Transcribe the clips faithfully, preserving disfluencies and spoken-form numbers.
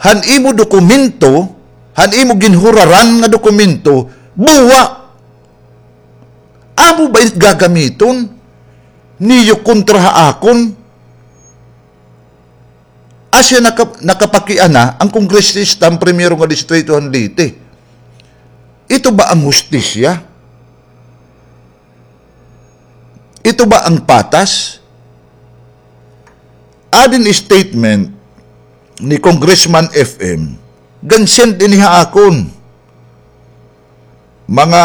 han imo dokumento, han imo ginhuraran nga dokumento, buwa. Amo ba it gagamiton niyo kontra ha akon? Asya naka-, nakapakiana an kongresista, an primero nga distrito han Leyte. Ito ba an hustisya? Ito ba an patas? Adi in statement ni Congressman F M, gin-send ini ha akon. Mga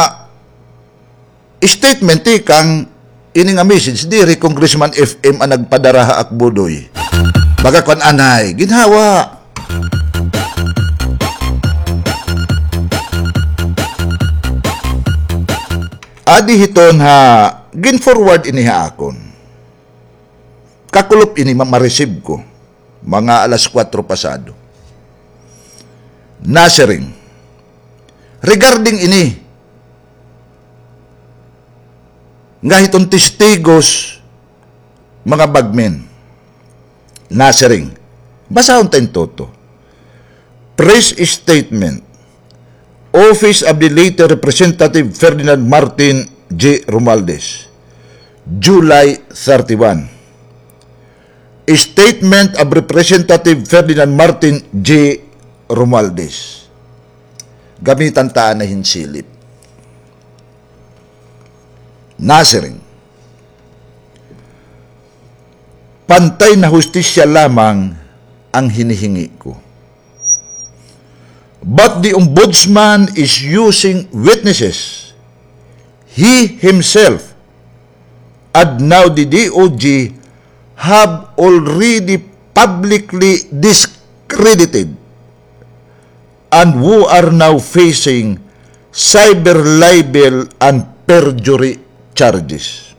statement tikang ini nga message, diri Congressman F M an nagpadara ha ak, Budoy. Baga kuan anay, ginhawa. Adi hiton ha, gin-forward ini ha akon. Kakulop ini ma-, ma-receive ko. Mga alas kuwatro pasado. Nasiring. Regarding ini, nga hiton testigos, mga bagmen. Nasiring. Basahon ta in toto. Press statement. Office of the Leyte Representative Ferdinand Martin G. Romualdez. July thirty-one. Statement of Representative Ferdinand Martin G. Romualdez. Gamitan ta anay hin silip. Nasiring. Pantay na hustisya lamang ang hinihingi ko. But the Ombudsman is using witnesses he himself and now the D O J have already publicly discredited and who are now facing cyber libel and perjury charges.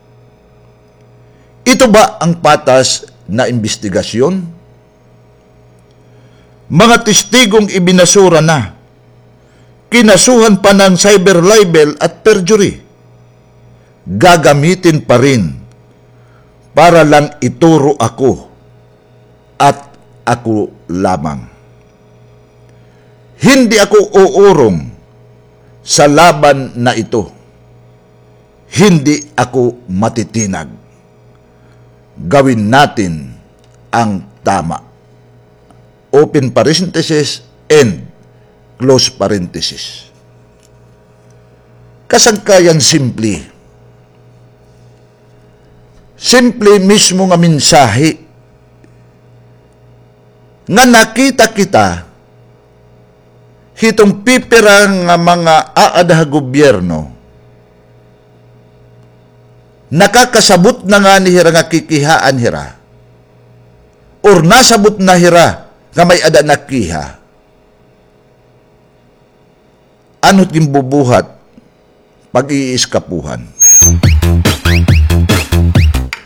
Ito ba ang patas na imbestigasyon? Mga testigong ibinasura na, kinasuhan pa ng cyber libel at perjury, gagamitin pa rin para lang ituro ako at ako lamang. Hindi ako uurong sa laban na ito. Hindi ako matitinag. Gawin natin ang tama. Open parenthesis and close parenthesis. Kasangkayan simple. Simple mismo nga mensahe nga nakita kita hiton pipira nga mga aada ha gobyerno, nakakasabot na ngani hira nga kikihaan hira, or nasabot na hira nga may-ada nakiha. Ano it ginbubuhat? Pag-iiskapuhan.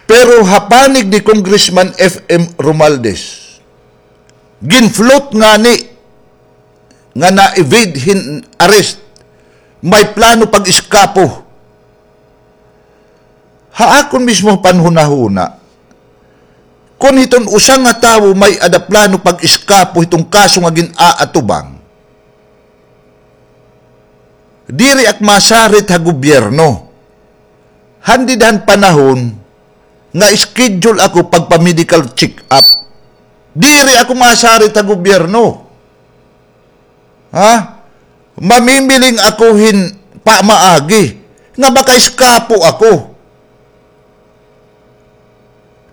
Pero ha panig ni Congressman F M Romualdez, gin-float ngani nga na-evade hin arrest, may plano pag-iskapo. Ha akon mismo panhunahuna, kon hiton usa nga tawo may-ada plano pag-iskapo hiton kaso nga gin-aatubang, diri ak masarit ha gobyerno. Handi han panahon nga schedule ako pagpa-medical check-up. Diri ako masarit ha gobyerno. Ha? Mamimiling ako hin pamaagi nga makaiskapo ako.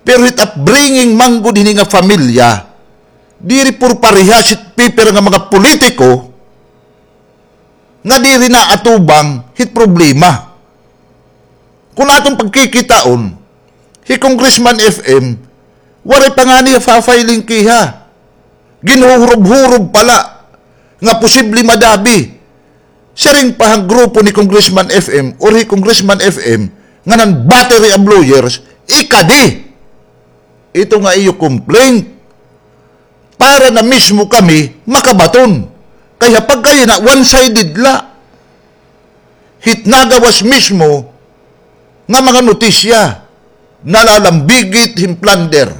Pero hit upbringing man gud hini nga pamilya, diri puro parehas hit pipira nga mga politiko nga diri naatubang hit problema. Kon aton pagkikitaon, hi Congressman F M, waray pa ngani ha filing kiha. Ginhuhurob-hurob pa la nga posible madabi. Siring pa han grupo ni Congressman F M or hi Congressman F M, ngan an battery of lawyers, ikadi ito nga iyo complaint. Para na mismo kami makabaton. Kay ha pagkayana, one-sided la. Hit nagawas mismo nga mga notisya, nalalambigit hin plunder,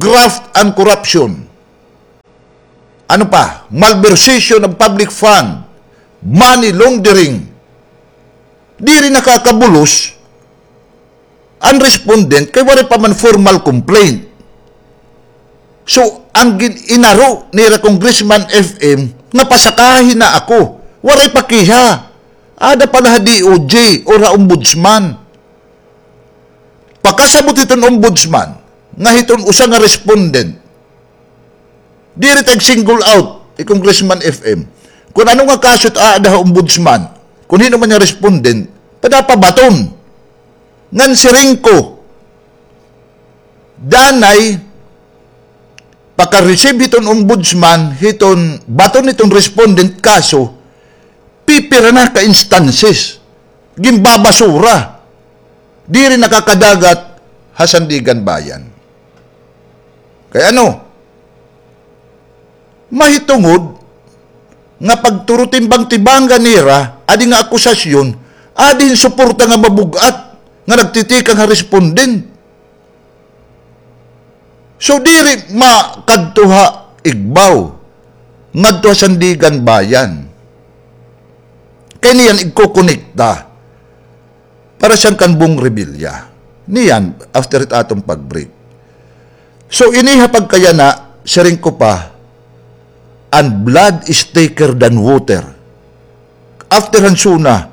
graft and corruption. Ano pa? Malversation of public fund, money laundering. Diri nakakabulos an respondent kay waray pa man formal complaint. So, an gin-, inaro nira Congressman F M nga pasakahi na ako. Waray pakiha. Ada pa la ha D O J or ha ombudsman. Pakasabot hiton ombudsman nga hiton usa nga respondent. Diri ta ig-single out hi Congressman F M. Kon ano nga kaso it aada ha ombudsman, kon hin-o man nga respondent, padapat baton. Ngan siring ko, danay, paka-receive hiton ombudsman, hiton baton hiton respondent kaso, pipira na ka instances, ginbabasura. Diri nakakadagat ha Sandiganbayan. Kay ano? Mahitungod nga pagturutimbang-tibangan nira, adi nga akusasyon, adi hin suporta nga mabug-at nga nagtitikang ha respondent. So, diri makadto ha Igbaw, ngadto ha Sandiganbayan. Kay niyan igkokonekta para siya kan Bong Revilla. Niyan, after it aton pag-break. So, ini ha pagkayana, siring ko pa, an blood is thicker than water. After han SONA,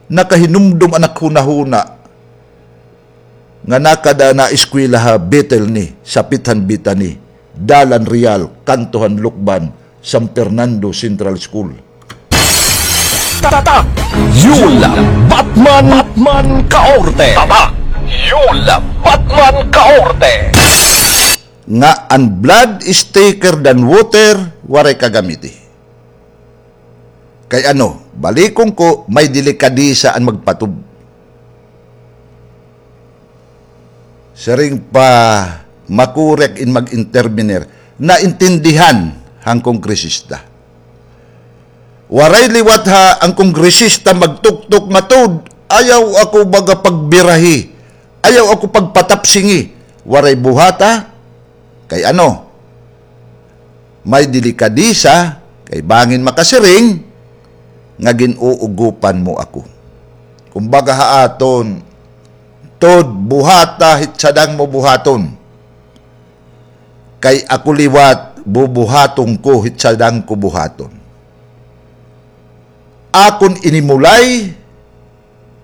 nakahinumdom an naghunahuna nga nakada na eskwela ha Bethel ni, sapit han Bethany, Dalan Real, kanto han Lukban, San Fernando Central School. Tatak! Yul Batman, Batman Kaorte! Tatak! Yul Batman Kaorte! Nga an blood is thicker than water, waray kagamiti. Kay ano, balikon ko, may delikadesa an magpatod. Siring pa, makurik in mag-intervenir. Naintindihan han kongresista. Waray liwat ha an kongresista magtuktok nga tuod, ayaw ako baga pagbirahi, ayaw ako pagpatapsingi. Waray buhata, kay ano, may delikadesa, kay bangin makasiring nga gin-uugopan mo ako. Kumbaga ha aton, tuod buhata hit sadang mo buhaton. Kay ako liwat, bubuhaton ko hit sadang ko buhaton. Akon inimulay,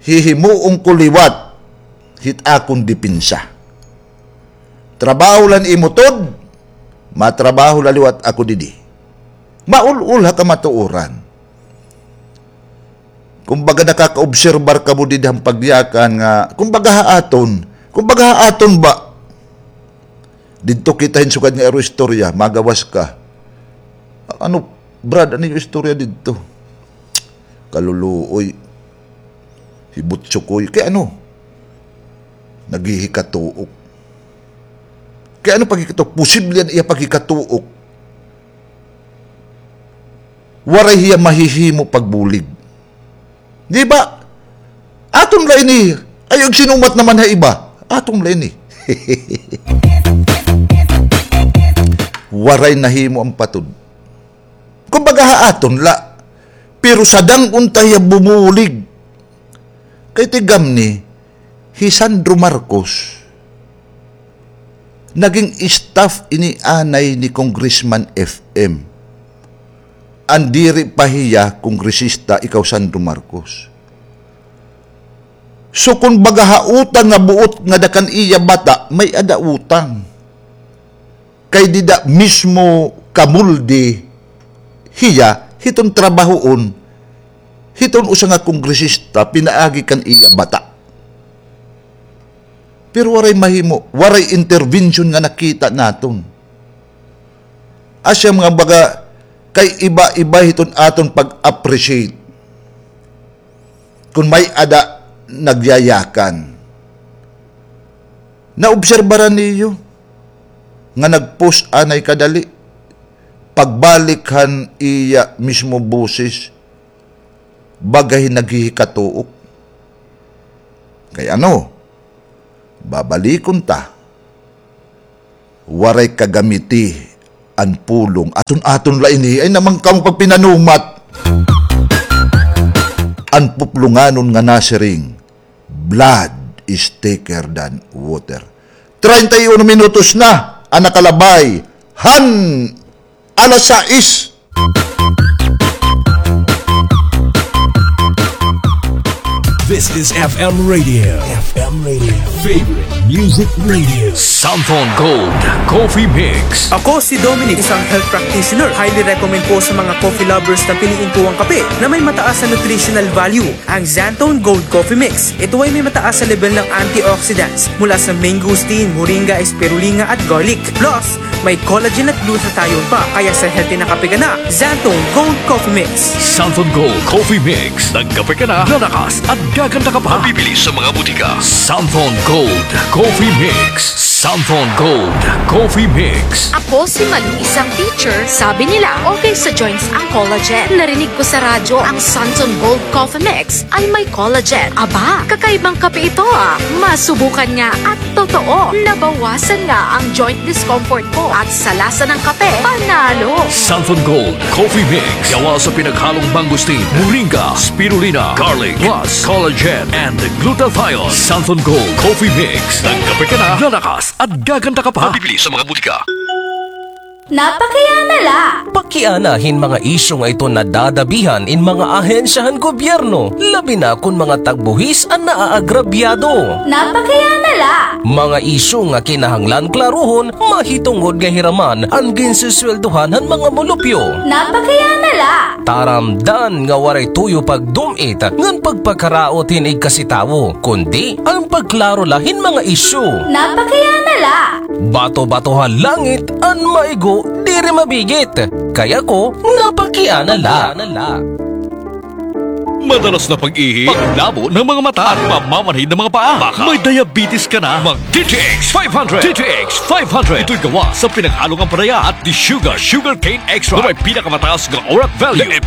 hihimuon ko liwat hit akon depensa. Trabaho la an imo tuod, matrabaho la liwat ako didi. Maul-ol ha kamatuoran. Kumbaga, nakakaobserbar kamo didi han pagyakan nga, kumbaga ha aton, kumbaga ha aton ba? Didto kita hin sugad nga iro istorya, magawas ka. Ano, Brad, ano iyo istorya didto? Kaluluoy. Hibutsukoy. Kay ano? Naghihikatuok. Kay ano paghikatuok? Posible an iya paghikatuok. Waray hiya mahihimo pagbulig. Di ba? Aton la ini. Ayaw igsinumat naman ha iba. Aton la ini. Waray nahimo an patod. Kumbaga ha aton la. Pero sadang unta hiya bumulig. Kay tigam ni, hi Sandro Marcos, naging staff ini anay ni Congressman F M. An diri pa hiya kongresista, ikaw Sandro Marcos. So, kon baga ha utang nga buot ngada kan iya bata, may-ada utang. Kay dida mismo kamulde hiya hiton trabahoon hiton usa nga kongresista pinaagi kan iya bata. Pero waray mahimo, waray intervention nga nakita naton. Asya mga baga kay iba-iba hiton aton pag-appreciate. Kon may-ada nagyayakan. Naobserbaran niyo nga nag-post anay kadali? Pagbalik han iya mismo boses, baga hin naghihikatuok. Kay ano? Babalikon ta. Waray kagamiti an pulong. Aton-aton la ini, ay naman kamo pagpinanumat. An puplonganon nga nasiring, blood is thicker than water. Treinta y uno minutos na an nakalabay han alas sais. This is F M Radio. F M Radio. Favorite music radio. Santon Gold Coffee Mix. Ako si Dominic, isang health practitioner. Highly recommend ko sa mga coffee lovers na piliin ko ang kape na may mataas na nutritional value, ang Xanthone Gold Coffee Mix. Ito ay may mataas na level ng antioxidants mula sa mangosteen, moringa, spirulina at garlic. Plus, may collagen at glutathione pa, kaya sa healthy na kape ka na, Xanthone Gold Coffee Mix. Santon Gold Coffee Mix. Nagkape ka na, lalakas at gaganda ka pa. Mabibili sa mga butika. Santon Gold Coffee Mix. Santon Gold Coffee Mix. Ako si Malu, isang teacher. Sabi nila, okay sa joints ang collagen. Narinig ko sa radyo ang Santon Gold Coffee Mix ay may collagen. Aba, kakaibang kape ito, ah. Masubukan nga at totoo, nabawasan nga ang joint discomfort ko at sa lasa ng kape, panalo. Santon Gold Coffee Mix. Gawa sa pinaghalong mangosteen, moringa, spirulina, garlic, plus collagen and glutathione. Santon Gold Coffee Mix. Nagkape ka na, lalakas at gaganda ka pa. Mabibili sa mga butika. Napakiana la. Pakiana hin mga isyu nga iton nadadabihan in mga ahensya han gobyerno, labi na kon mga tagbuhis an naaagrabyado. Napakiana la. Mga isyu nga kinahanglan klaruhon, mahitungod nga hiraman an ginsisweldohan han mga mulupyo. Napakiana la. Taramdan nga waray tuyo pagdum-it ngan pagpakaraot hin igkasi tawo, kundi an pagklaro la hin mga isyu. Napakiana la. Bato-bato ha langit, an maigo diri mabigit. Kay ako, napakiana la. Madalas na pag-ihi, paglabo ng mga mata, at pamamanhid ng mga paa. Baka may diabetes ka na. Mag D T X five hundred. D T X five hundred. Ito'y gawa sa pinaghalong ampalaya at desugar, sugarcane extract, na may pinakamataas nga orat value.